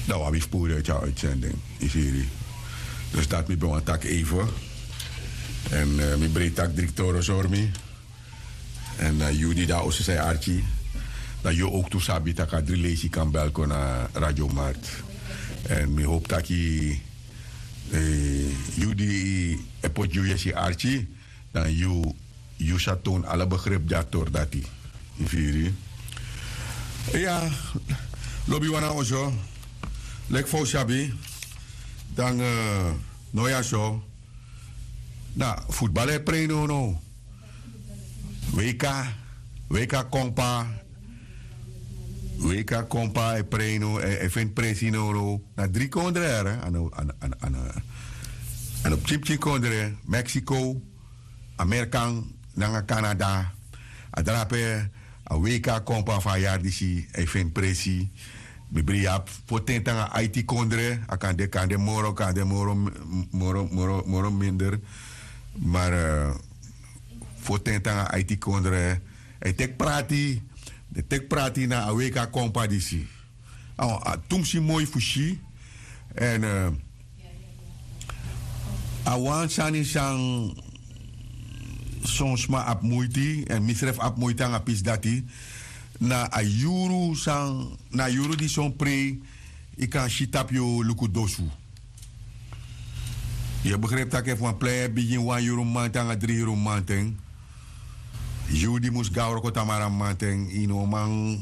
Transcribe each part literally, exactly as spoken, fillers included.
Dan wi abi fu puru yu uiti a uitsending, yu firi. Dus dati mi ben wani taki even. Èn mi breiti taki dri ktoro sori mi. Èn na yu di de na oso san e arki, dan yu owktu sabi tak' a dri leisi kan bel kon na radio mart. Èn mi howpu taki yu di e poti yu yesi arki, dan yu yu sa townu ala begripi di a tori dati. Yu firi? Iya. Lobi wan na oso, leki fa un sabi, dan no ya so. Na futbal e prei nownow. Weka, weka kompa. Weka kompa e prei now, e feni presi nownow. Na dri kondre yere, a no pikin pikin kondre. Meksiko, amerikan nanga kanada. A drape a weka kompa fu a yari disi, a e feni presi. Mi bribi ya. Foten te nanga aiti kondre, a kan de kan de moro kan de moro, moro moro minder. Mari foten te nanga aiti kondre, a e teki prati. Den teki prati na a weka kompa disi. A tumsi moi fu si. Èn a wan sani san son sma abi muiti èn misrefi abi muiti nanga pisi dati, na a yuru san na a yuru di son prei, yu kan si tapu yu luku dosu. Yu e begripi tak' efu wan plei e bigin wan yuru mamanten nanga dri yuru mamanten, yu di mus go na wroko tamara mamanten, yu no man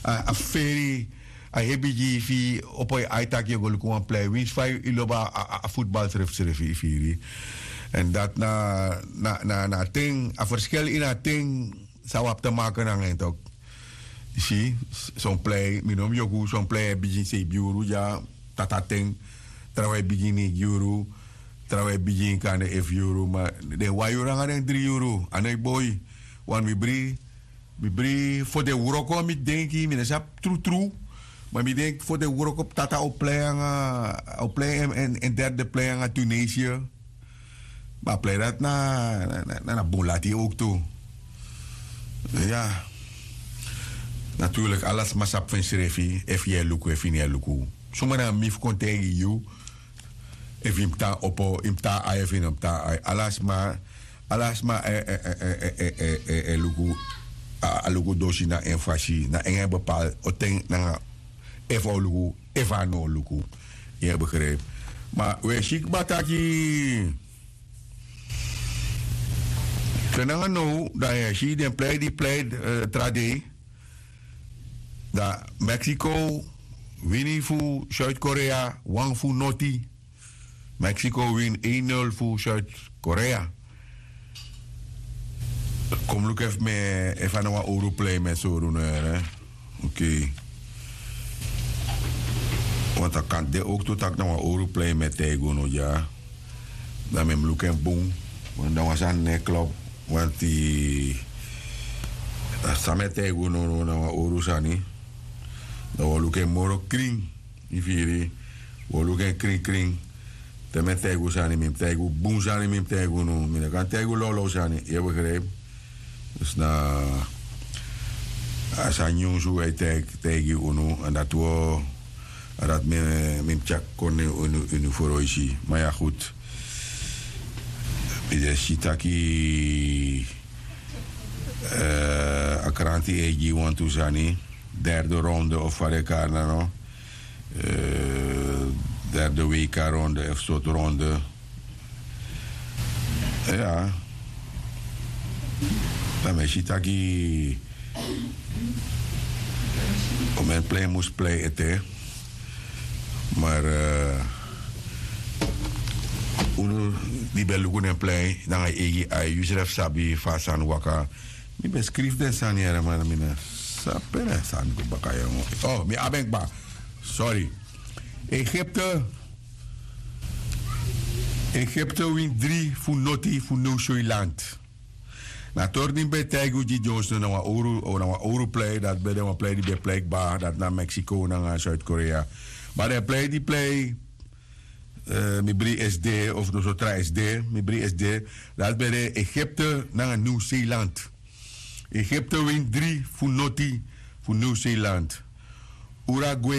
a feri a hebi gi yu fu yu opo yu ai tak' yu e go luku wan plei winsi fa yu lobi a futbal srefisrefi yu firi. Èn dati na na na a ten a ferskeli ini a ten san wi abi te make nanga en tok. Yu si, son plei mi no mus yoku son plei e bigin seibi yuru dya, tata ten, trawan e bigin neigi yuru, trawan e bigin kande efu yuru ma den wan yuru nanga den dri yuru a no e boi. Wan mi bri mi bri fo den wroko mi denki mi no sabi trutru. Ma mi denki fo den wroko tata o plei nanga o plei en derde plei nanga tunisia. Ma a plei dati na na bun lati owktu. Ya. Naturlik ala sma sabi fu ensrefi efu yu e luku efu yu no e luku. Suma na mi fu kon taigi yu efu yu mus tan opo yu mus tan ai efu yu no mus tan ai ala sma ala sma e luku a luku dosi na en fasi na en en bepal o ten nanga efu a o luku efu a no o luku. Yu e begripi? Ma wi e si kba taki te nanga now dan yu e si den plei di plei tra dei. Dan mexico wini fu zuid-korea wan fu noti. Mexico wini ein nul fu zuid-korea. Kon mi luku efu mi e efu a na wan owru plei mi e sori unu here. Okei. Want a kan de owktu tak' na wan owru plei mi e taigi unu dya. Dan mi mus luku en bun. Want dan wan sani no e klop. Want a san mi e taigi unu na wan owru sani. Dan wi o luku en moro krin. Yu firi? Wi o luku en krin krin. Te mi e taigi un sani mi mus taigi un bun sani mi mus taigi unu mi no kan taigi un lawlaw sani yu e begripi? Dus na a sani nyunsu wi e taigi unu èn dati wi o a dati mi mus tyaki kon na ini unu froisi. Ma ya gudu. Mi de si taki a kranti e gi wantu sani. Derde ronde of fa den e kari na no. Derde weka ronde efu sortu ronde. Ya. Dan mi e si taki o men plei mus plei ete. Mar unu di ben luku den plei nanga eigi ai yu srefi sabi fa a sani waka. Mi ben skrifi den sani yere ma mi na sabi pe na sani go baka yere. Mi abi en kba. Sori. Egipte. Egipte wini dri fu noti fu new swiland. Na tori di mi ben taigi un gi dyonsnu na wan owru plei dati ben de wan plei di ben plei kba dati na mexico nanga zuid-korea. Ma den plei di plei mi bri sd of noso tra sd mi bri sd. Dati ben de egipte nanga new zealand. Egipte wini dri fu noti fu new zealand. Uragwe.